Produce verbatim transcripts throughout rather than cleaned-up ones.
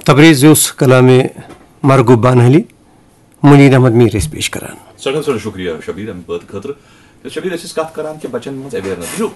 تبریز اوس کلام مرغوب بانہلی، منیر احمد میر ٲسۍ پیش کران۔ سٮ۪ٹھاہ سٮ۪ٹھاہ شُکریہ شبیٖر، اَمہِ بٲتہٕ خٲطرٕ۔ تہٕ شبیٖر، أسۍ ٲسۍ کَتھ کران کہِ بَچَن منٛز awareness۔ وٕچھِو،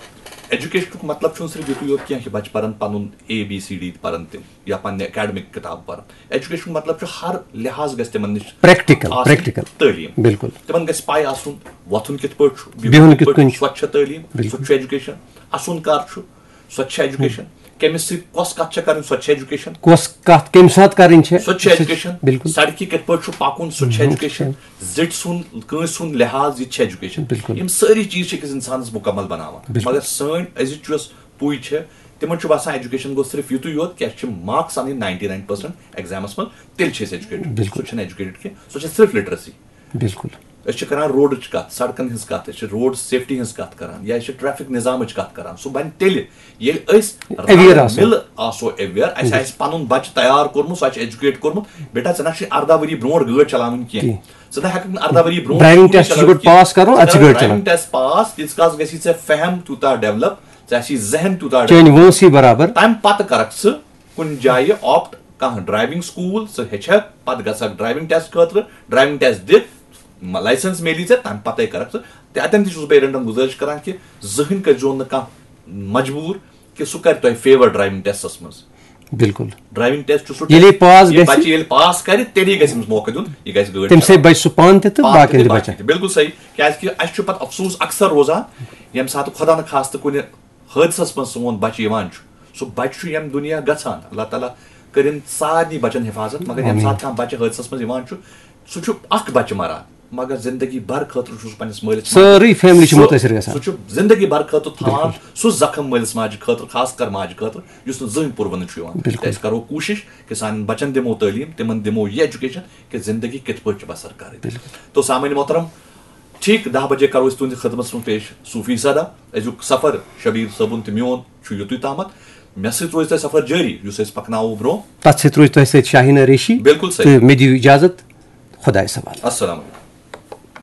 ایجوکیشنُک مطلب چھُنہٕ صرف یُتُے یوت کینٛہہ کہِ بَچہٕ پَرَن پَنُن اے بی سی ڈی پَرَن تِم یا پَنٕنہِ academic کِتاب پَرَن۔ ایجوکیشنُک مطلب چھُ ہر لحاظ گژھِ تِمَن نِش Practical، آسٕنۍ practical۔ تعلیٖم۔ بِلکُل۔ تِمَن گژھِ پَے آسُن وۄتھُن کِتھ پٲٹھۍ چھُ، بِہُن کِتھ کٔنۍ چھُ۔ سۄ تہِ چھےٚ تعلیٖم، بِلکُل۔ سُہ تہِ چھُ ایجوکیشن۔ اَسُن کر چھُ، سۄ تہِ چھےٚ ایجوکیشن۔ کٔمِس سۭتۍ کۄس کَتھ چھےٚ کَرٕنۍ، سۄ تہِ چھےٚ ایجوکیشن۔ کۄس کتھ کمہِ ساتہٕ کرٕنۍ چھےٚ، سۄ تہِ چھےٚ ایجوکیشن۔ بِلکُل۔ سڑکہِ کِتھ پٲٹھۍ چھُ پَکُن، سۄ تہِ چھےٚ ایجوکیشن۔ زِٹھۍ سُنٛد، کٲنٛسہِ ہُنٛد لحاظ، یہِ تہِ چھےٚ ایجوکیشن۔ بِلکُل۔ یِم سٲری چیٖز چھِ أکِس اِنسانَس مُکمل بَناوان۔ بِلکُل۔ مگر سٲنۍ أزِچ یۄس پُے چھےٚ، تِمن چھُ باسان ایجوکیشن گوٚو صرف یُتُے یوت کہِ اَسہِ چھِ مارکس اَنٕنۍ ناینٹی ناین پٔرسنٹ ایگزامَس منٛز، تیٚلہِ چھِ أسۍ ایجوکیٹڈ۔ بِلکُل۔ سُہ چھُنہٕ ایجوکیٹڈ کینٛہہ، سۄ چھےٚ صرف لِٹریسی۔ بِلکُل۔ أسۍ چھِ کران روڈٕچ کتھ، سڑکن ہٕنٛز کتھ، أسۍ چھِ روڈ سیفٹی ہٕنٛز کتھ کران، یا أسۍ چھِ ٹریفک نظامٕچ کتھ کران۔ سُہ بنہِ تیٚلہِ، ییٚلہِ أسۍ Aware آسو۔ مِلہٕ آسو اویئر، اسہِ آسہِ پنُن بچہِ تیار کوٚرمُت، سُہ آسہِ ایجوکیٹ کوٚرمُت، بیٹا، ژےٚ نہ چھُے ارداہ ؤری برونٛٹھ گٲڑۍ چلاوٕنۍ کینٛہہ۔ کینٛہہ۔ ژٕ نہ ہیٚککھ نہٕ ارداہ ؤری برونٛٹھ Driving گٲڑۍ test چھُ چلاوٕنۍ گۄڈٕ کینٛہہ۔ پاس کرُن، ادٕ چھُ ژٕ کر گٲڑۍ driving چلاوٕنۍ۔ Test پاس، تیٖتِس کالس گژھی ژےٚ فہم تیوٗتاہ ڈیولپ، ژےٚ آسی ذہن تیوٗتاہ چٲنۍ وٲنٛسٕے برابر۔ تمہِ پتہٕ کرکھ ژٕ کُنہِ جایہِ آپٹ کانٛہہ ڈرایونگ سکول، ژٕ ہیٚچھکھ، پتہٕ گژھکھ ڈرایونگ ٹیسٹ خٲطرٕ، ڈرایونگ ٹیسٹ دِتھ، لایسنس میلی ژےٚ، تمہِ پتے کرکھ ژٕ۔ تہٕ اتٮ۪ن تہِ چھُس بہٕ پیرنٹن گُزٲرِش کران کہِ زٕہٕنۍ کٔرزیون نہٕ کانٛہہ مجبوٗر کہِ سُہ کرِ تۄہہِ فیور ڈرایونگ ٹیسٹس منٛز۔ بِلکُل۔ ڈرایونگ ٹیسٹ چھُ سُہ ییٚلہِ یہِ پاس یہِ گژھِ، بچہِ ییٚلہِ پاس کرِ، تیٚلی گژھِ أمِس موقع دیُن، یہِ گژھِ گٲڑۍ تٔمۍ سۭتۍ چلاوٕنۍ۔ بچہِ سُہ پانہٕ تہِ تہٕ پانہٕ باقین تہِ تہِ باقین بچن۔ تہِ۔ بِلکُل صحیح۔ کیازِ کہِ اسہِ چھُ پتہٕ افسوٗس اکثر روزان، ییٚمہِ ساتہٕ خۄدا نہٕ خاستہٕ کُنہِ حٲدثس منٛز سون بچہِ یِوان چھُ، سُہ بچہِ چھُ ییٚمہِ دُنیا گژھان۔ اللہ تعالیٰ کٔرِنۍ سارنٕے بچن حفاظت، مگر ییٚمہِ آمیٖن۔ ساتہٕ کانٛہہ بچہِ حٲدثس منٛز یِوان چھُ، سُہ چھُ اکھ بچہِ مران، مگر زندگی بھر خٲطرٕ چھُ سُہ پننِس مٲلِس ماجہِ سٲرٕے family چھِ سُہ- مُتٲثر گژھان۔ سُہ چھُ زندگی بھر خٲطرٕ تھاوان سُہ زخم مٲلِس ماجہِ خٲطرٕ، خاص کر ماجہِ خٲطرٕ، یُس نہٕ زٕہٕنۍ پُروُن چھُ یِوان۔ بِلکُل۔ تہٕ أسۍ کرو کوٗشِش کہِ سانٮ۪ن بچن دِمو تعلیٖم، تِمن دِمو یہِ ایجوکیشن کہِ زندگی کِتھ پٲٹھۍ چھِ بسر کرٕنۍ۔ تو سامعین محترم، ٹھیک دہ بجے کرو أسۍ تُہنٛدِ خدمتس منٛز پیش صوفی سدا۔ أزیُک سفر شبیر صٲبُن تہٕ میون چھُ یُتُے تامتھ۔ مےٚ سۭتۍ روزِ تۄہہِ سفر جٲری یُس أسۍ پکناوو برونٛہہ۔ تتھ سۭتۍ روزِ تۄہہِ سۭتۍ شاہیٖنا ریشی۔ بِلکُل صحیح۔ تہٕ مےٚ دِیِو اجازت، خۄدایس حوالہٕ۔ السلام علیکم۔